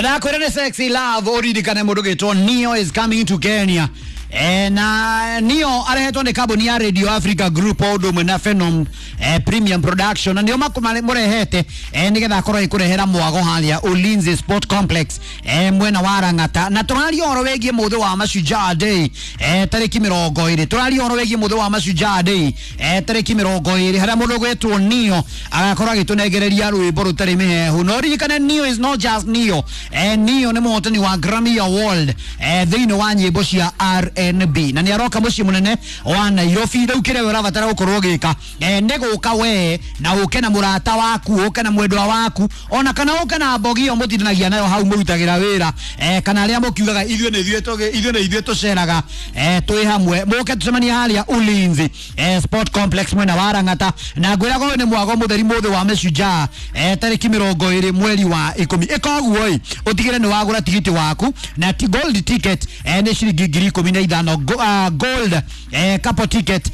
Ndakwĩra nĩ Sexy Love, ũririkane mũndũ gĩtwo Neo is coming to Kenya. Na Neo arehetwo nĩ kambuni ya Radio Africa Group o ũndũ ũmwe na Phenom Premium Production, na nĩo mũrehete nĩgetha akorwo ĩkũrehera mwago harĩa Ulinzi Sport Complex mwena wa Lang'ata. Na tũraria ũhoro wĩgiĩ mũthĩ wa Mashujaa Day tarĩki 20. Tũraria ũhoro wĩgiĩ mũthĩ wa Mashujaa Day tarĩki 20, harĩa mũndũ ũgwĩtwo Neo agakorwo agĩtũnengereria rwĩmbo rũtarĩ mĩhehu. Na ũririkane Neo is not just Neo. Neo nĩ mũhotani wa Grammy Award thĩinĩ wa nyĩmbo cia R&B, na nĩ aroka mũciĩ mũnene wa Nairobi. Rĩu kĩrĩa we ũrabatara gũkorwo ũgĩka nĩ gũka we na ũke na mũrata waku, ũke na mwendwa waku, ona kana ũke na mbogi ĩyo mũtindanagia nayo hau mũrutagĩra wĩra, kana arĩa mũkiugaga ithuĩ nĩ ithuĩ ithuĩ nĩ ithuĩ tũceraga twĩ hamwe, mũke tũcemanie harĩa Ulinzi Sport Complex mwena wa Lang'ata. Na ngwĩraga ũyũ nĩ mwago mũtheri mũthĩ wa Mashujaa tarĩki 20 mweri wa 10. Ĩka ũguo ĩ, ũtigĩre nĩ wagũra tigiti waku, na gold ticket nĩ ciringi 15,000. Gold couple ticket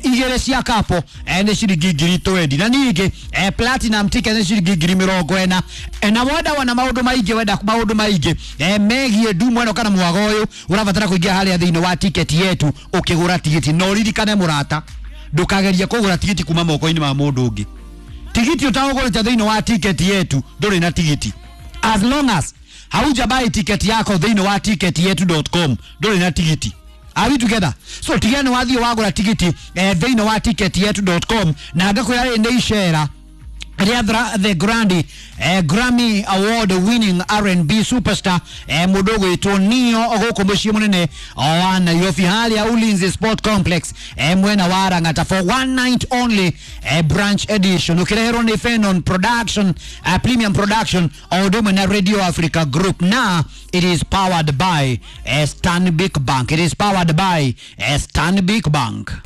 igĩrĩ cia couple nĩ ciringi 20,000, na ningĩ platinum ticket nĩ ciringi 40,000. Na wenda wona maũndũ maingĩ, wenda maũndũ maingĩ megiĩ ndumo ĩno kana mwago ũyũ, ũrabatara kũingĩra harĩa thĩinĩ wa Ticket Yetu ũkĩgũra tigiti. Na ũririkane mũrata, ndũkagerie kũgũra tigiti kuma moko-inĩ ma mũndũ ũngĩ. Tigiti ũtaũgũrĩte thĩinĩ wa Ticket Yetu, ndũrĩ na tigiti. As long as haujabuy ticket yako thĩinĩ wa ticketyetu.com, ndũrĩ na tigiti. Are we together? So tiga nĩ wathiĩ wagũra tigiti thĩinĩ wa ticketyetu.com. Na ngakwĩra rĩ, nĩ icera rĩa the Grandi Grammy Award winning R&B superstar mũndũ ũgwĩtwo Neo gũkũ mũciĩ mũnene wa Nairobi harĩa Ulinzi Sport Complex mwena wa Lang'ata for one night only branch edition, ũkĩreherwo nĩ Fenon Production, Premium Production o ũndũ ũmwe na Radio Africa Group. Na it is powered by Stanbic Bank. It is powered by Stanbic Bank.